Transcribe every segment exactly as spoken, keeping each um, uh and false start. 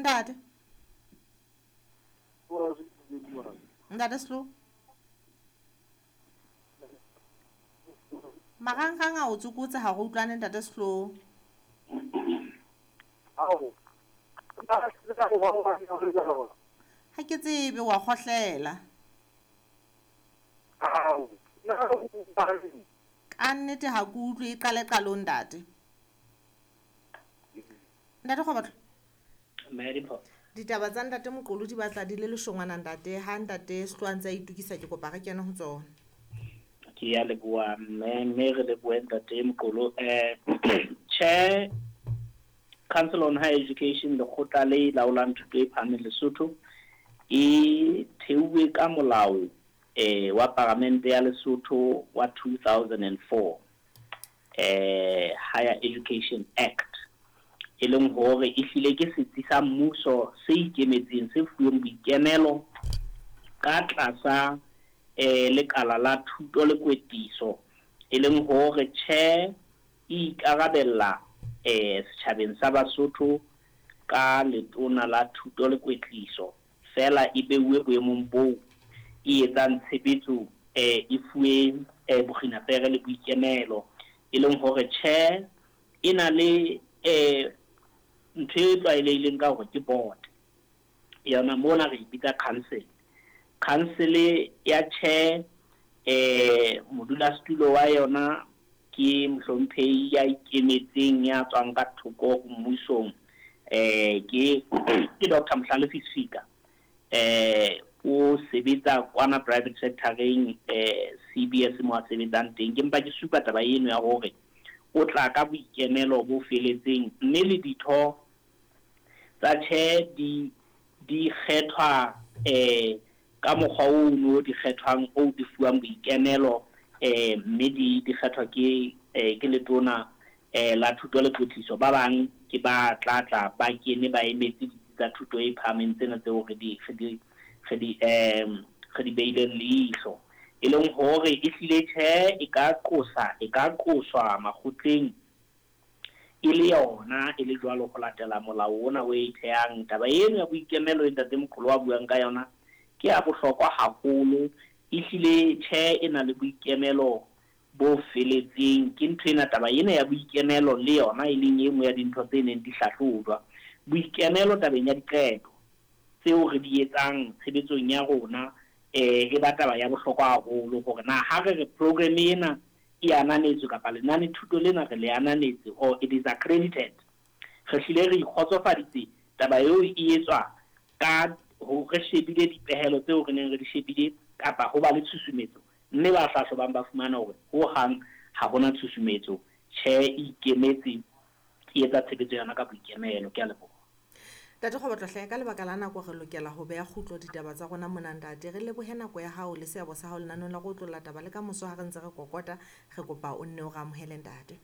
Ntate. Ntate Slo. Marangrang a o tsokotse ha re utlwane ntate Slo. Ao. Ha ke tsebe wa kgohlela. Ao. Ka nnete ha ke utlwe e qale qalong ntate. Ntate Kgobatlo. Mme Dimpho. Ditaba tsa ntate Moqolo di batla di le leshongwana ntate, ha ntate Slo a ntse a itokisa ke kopa re kene ho tsona. Ke ya leboha mme, mme re lebohe ntate Moqolo. Eh Chair Council on Higher Education, lekgotla le laolang thuto e phahameng Lesotho, e theuwe ka molao eh wa Paramente ya Lesotho wa two thousand and four, eh Higher Education Act, e leng hore e hlile ke setsi sa mmuso se ikemetseng se fuweng boikemelo ka tlasa eh lekala la thuto le kwetliso, e leng hore tjhe e ikarabella eh setjhabeng sa Basotho ka letona la thuto le kwetliso, fela e beuwe boemong boo e etsang tshebetso eh e fuwe eh bokginapere le boikemelo, e leng hore tjhe e na le eh ntho e tlwaelehileng ka hore ke board. Yona mona re e bitsa council. Council ya tjhe eh modulasetulo wa yona ke mohlomphehi ya ikemetseng ya tswang ka thoko ho mmusong, eh ke ke Doctor Mohlalefi Sefika, eh o sebetsa kwana private sectoreng eh C B S mo a sebetsang teng. Ke mpa ke supa taba eno ya hore o tla ka boikemelo bo feletseng, mme le ditho tsa tjhe di di kgethwa eh ka mokgwa ono di kgethwang o di fuwang boikemelo, eh mme di di kgethwa ke eh ke letona eh la thuto le kwetliso. Ba bang ke ba tla tla ba kene ba emetse ditsi tsa thuto e phahameng tsena tseo re di re di re di eh re di beileng leihlo, e leng hore e hlile tjhe e ka qosa e ka qoswa makgotleng e le yona e le jwalo ho latela molao ona o e thehang. Taba eno ya boikemelo e ntate Moqolo a buang ka yona ke ya bohlokwa haholo. E hlile tjhe e na le boikemelo bo feletseng. Ke ntho ena taba ena ya boikemelo le yona e leng e nngwe ya dintho tse neng di hlahlojwa. Boikemelo tabeng ya diqeto tseo re di etsang tshebetsong ya rona eh e ba taba ya bohlokwa haholo, hore na ha re re program ena e ananetswe kapa lenane thuto lena re le ananetse or it is accredited, re hlile re ikgotsofaditse taba eo e etswa ka ho re shebile dipehelo tseo re neng re di shebile kapa ho ba le tshusumetso, mme ba hlahlobang ba fumana hore ho hang ha hona tshusumetso, tjhe e ikemetse e etsa tshebetso yona ka boikemelo. Ke a leboha. Ntate Kgobatlo hle, ka lebaka la nako re lokela ho beha kgutlo ditaba tsa rona mona ntate. Re lebohe nako ya hao le seabo sa hao lenaneong la go otlolla taba, le ka moso ha re ntse re kokota re kopa o nne o re amohele ntate.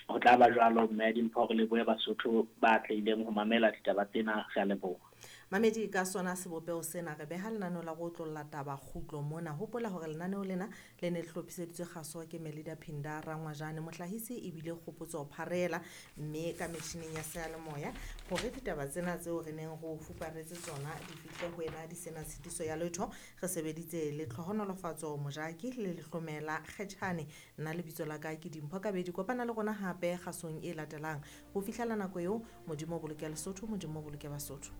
Ho tla ba jwalo mme Dimpho, re lebohe Basotho ba tlileng ho mamela ditaba tsena, re a leboha. Mamedi, ka sona sebopeho sena re beha lenaneo la go otlolla taba kgutlo mona. Hopola hore lenaneo lena le ne le hlophiseditswe kgaso ke Melida Phinda Rangwajane, mohlahisi ebile Kgopotso Pharela, mme ka metjhineng ya seyalemoya hore ditaba tsena tseo re neng re o fuparetse tsona di fihle ho wena di sena tshitiso ya letho. Re sebeditse le Tlhohonolofatso Mojaki le Lehlomela Kgetjhane. Nna lebitso la ka ke Dimpho Kabedi. Kopana le rona hape kgasong e latelang. Ho fihlela nako eo, Modimo o boloke Lesotho, Modimo o boloke Basotho.